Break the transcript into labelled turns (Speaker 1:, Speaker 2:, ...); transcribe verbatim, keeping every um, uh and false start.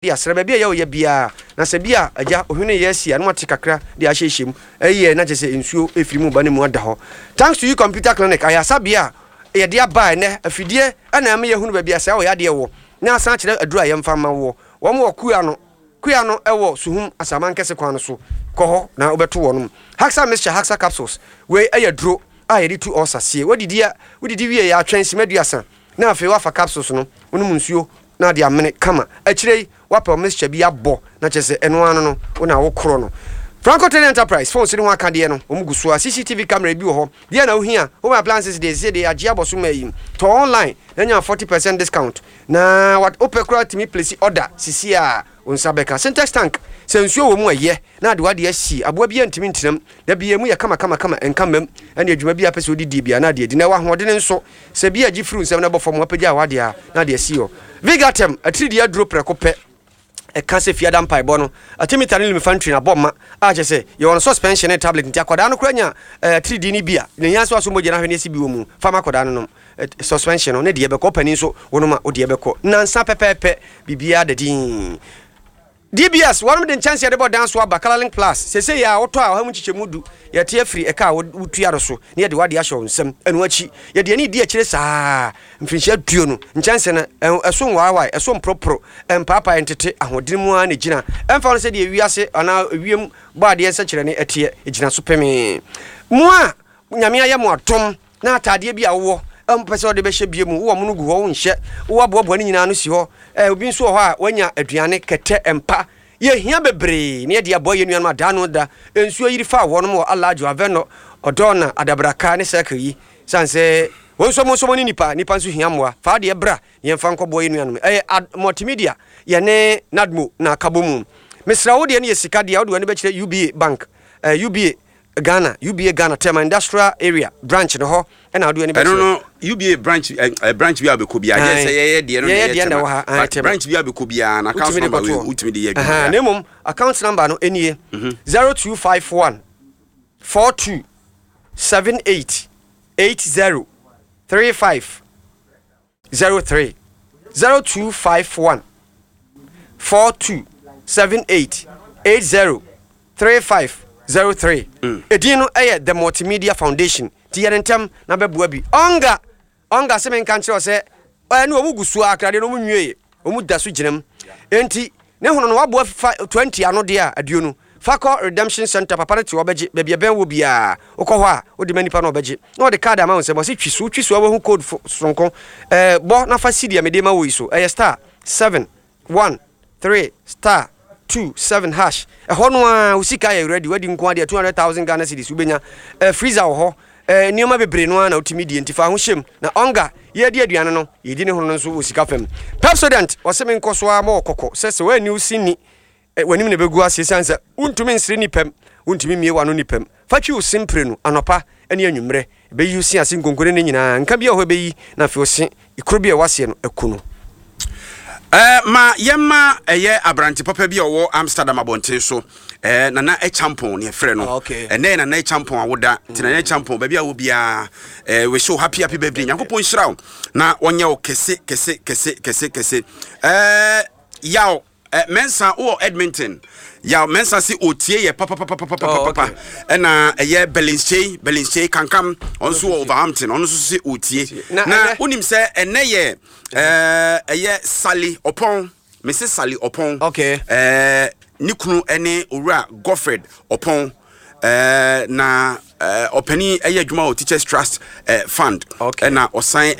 Speaker 1: De asra baabi a ɛyɛ ɔyɛ biara, na sɛ bi a agya ohwene yɛ asi a, na wate kakra de ahyehyɛ mu ɛyɛ, na kyerɛ sɛ nsuo ɛfiri mu ba ne mu ada hɔ. Thanks to You Computer Clinic, ayasabea a yɛde aba ɛnɛ afidie ɛna ɛma yɛhunu baabi a sɛ ɔyɛ adeɛ wɔ na asan kyerɛ aduru a yɛmfa ma woɔ. Wɔn wɔ kua no kua no ɛwɔ Suhum Asamankɛse kwan no so. Kɔ hɔ na wobɛto wɔnom Haxa Mixture, Haxa Capsules. Wei ɛyɛ duro a yɛde tu ɔsa sie. Wodidi a, wodidi wie yɛ atwɛn sima aduasa na afei wafa capsules no, wonom nsuo na ade amene kama. Akyire yi wapɛ mixture bi abɔ na kyerɛ sɛ ɛno ano no wo na wokorɔ no. Franco Trading Enterprise, phones ne ho akadeɛ no wɔn gu so a C C T V camera bi wɔ hɔ deɛ na wohia. Home appliances deɛ, sɛ deɛ agye abɔ so ma yi, tɔ online na nya forty percent discount na wopɛ koraa tumi place order sisi a wo nsa bɛka. Sintex tank, sɛ nsuo wɔ mu ɛyɛ na ade wade asi aboa bi ntumi ntenam da bia mu yɛ kama kama kama, ɛnka mmam ɛne adwuma bi a pɛ sɛ wodidi bia na ade adi na ɛwɔ ahoɔden nso. Sɛ bi agye firi nsɛm na ɛbɔ fam, wapagya a wade a na ade asi hɔ. Vigatem atiridii aduro prɛko pɛ ɛka sɛ fiada mpaebɔ no artemether ne lumefantrine abɔ ma a kyɛ sɛ yɛwɔ no suspension ne tablet, nti akwadaa no kora nya atiridii no bi a ne hia sɛ waso mogya no ahwɛ ne asi bi wɔ mu. Fama akwadaa no nom suspension no ne deɛ bɛkɔ, ɔpani nso wonom a wodeɛ bɛkɔ nansa pɛpɛɛpɛ, biribiara da din. D B S wɔnom de nkyɛnse yɛde bɔ dan so aba, Colorlink Plus. Sese yɛ a wotɔ a, ɔha mu nkyekyɛmu du yɛte afiri ɛka a wotua no so na yɛde wade ahyɛ wo nsam. Ɛno akyi yɛde ani di akyire saa mfirinhyia duonu. Nkyɛnse no ɛso nwaawae, ɛso mporoporo, ɛmpaapae, ntete, ahoɔden mu ara na gyina. Ɛmfa no sɛ deɛ wiase anaa wiem bɔ adeɛ nsɛkyerɛnne ɛteɛ, ɛgyina so pemee. Mo a Nyame ayɛ mo adom na ataadeɛ bi a wowɔ mpɛ sɛ wɔde bɛhyɛ bie mu, wowɔ mo no gu hɔ, wonhyɛ, wowɔ aboaboa no nyinaa no si hɔ. Obi nso wɔ hɔ a wanya aduane, kɛtɛ, mpa, yɛhia bebree ne yɛde aboa yɛ nuanom adaa no da nsuo yiri fa wɔnom wɔ Alajo, Avɛnɔ, Ɔdɔɔna, Adabraka ne Circle yi, sane sɛ wɔn nso mo nso mo ne nipa nipa nso hia mmoa. Fa adeɛ bra, yɛmfa nkɔboa yɛ nuanom. Ɛyɛ multimedia, yɛne NADMO na akabɔ mu. Mesrɛ wo, deɛ no yɛ sika deɛ, wode w'ani bɛkyerɛ U B A Bank, uh, U B A Ghana, U B A Ghana Tema Industrial Area branch no hɔ ɛna wode w'ani
Speaker 2: bɛkyerɛ. Ɛno no U B A branch ɛ branch bi a bɛkɔ biara yɛ sɛ yɛyɛ deɛ no na
Speaker 1: yɛyɛ deɛ na ɛwɔ ha.
Speaker 2: But branch bi a bɛkɔ biara na account number wei wotumi de yɛ adwuma.
Speaker 1: Na mmom account number no nie: zero two five one four two seven eight eight zero three five zero three, zero two five one four two seven eight eight zero three five zero three. Edin no ɛyɛ The Multimedia Foundation, ti yɛn ntɛm na bɛboa bi. Ɔnga ɔnga sɛ menka nkyerɛ sɛ ɛne ɔmu gu so a akradeɛ no ɔmu nwie, ɔmu da so gyina mu, enti ne hono no waboa fa twenty ano deɛ a aduonu fa kɔ redemption center. Papa no te ɔbɛgye baabi ɛbɛn wɔ biara. Wokɔ hɔ a, wode ma nipa no, ɔbɛgye na ɔde card ama wo nsɛm. Ɔsɛ twi so, twi so a, wahu code soronko ɛɛ bɔ na fa si deɛ mede ma wo yi so. Ɛyɛ star seven one three star two seven hash. Ɛhɔ no a wo sika yɛ ready, wadi nko adeɛ two hundred thousand Ghana cedis wobɛnya. ɛɛ freezer wɔ hɔ, ɛɛ nneɛma bebree no ara na wotumi die, nti fa ho hyɛm na ɔnga yɛdi aduane no, yɛdi ne ho no nso wɔ sika fam. Pepsodent ɔsɛ me nkɔ so ara ma wɔ kɔkɔ sɛ sɛ woani wo si ni, w'anim na ɛbɛgu ase, ɛsiane sɛ wontumi nsere nipam, wontumi mmie w'ano nipam. Fa twi wo se mprenu anɔpa ne anwummerɛ, ɛbɛyi wo se ase nkonkone no nyinaa, nka bi a hɔ ɛbɛyi na afei wo se kuro bi a ɛwɔ aseɛ no aku no.
Speaker 2: Uh, ma yɛma ɛyɛ aberante papa bi a ɔwɔ Amsterdam abɔnten so, uh, Nana Ɛchampɔn ne yɛfrɛ no.
Speaker 1: Okay.
Speaker 2: Ɛnɛ Nana Ɛchampɔn a woda nti, Nana Ɛchampɔn, baabi a wɔ biara, uh, wish you happy happy birthday. Nyankopɔn nhyira wo na ɔnyɛ wo kɛse kɛse kɛse kɛse kɛse. uh, yaw uh, Mensa wowɔ Edmonton, Yaw Mensa se otie yɛ papapapapapapa.
Speaker 1: Oh, okay.
Speaker 2: Ɛna ɛyɛ Belinkyei Belinkyei Kankam, ɔno nso wɔ Overhampton, ɔno nso se otie.
Speaker 1: Na
Speaker 2: na
Speaker 1: ɛnɛ-
Speaker 2: wonim sɛ ɛnɛ yɛ ɛɛ, ɛyɛ Sally Ɔpɔn, mese Sally Ɔpɔn.
Speaker 1: Okay.
Speaker 2: ɛɛ ne kunu ɛne Owura Godfred Ɔpɔn, ɛɛ na ɛɛ ɔpanin ɛyɛ adwuma wɔ Teachers Trust ɛɛ Fund.
Speaker 1: Okay.
Speaker 2: Ɛna ɔsan ɛyɛ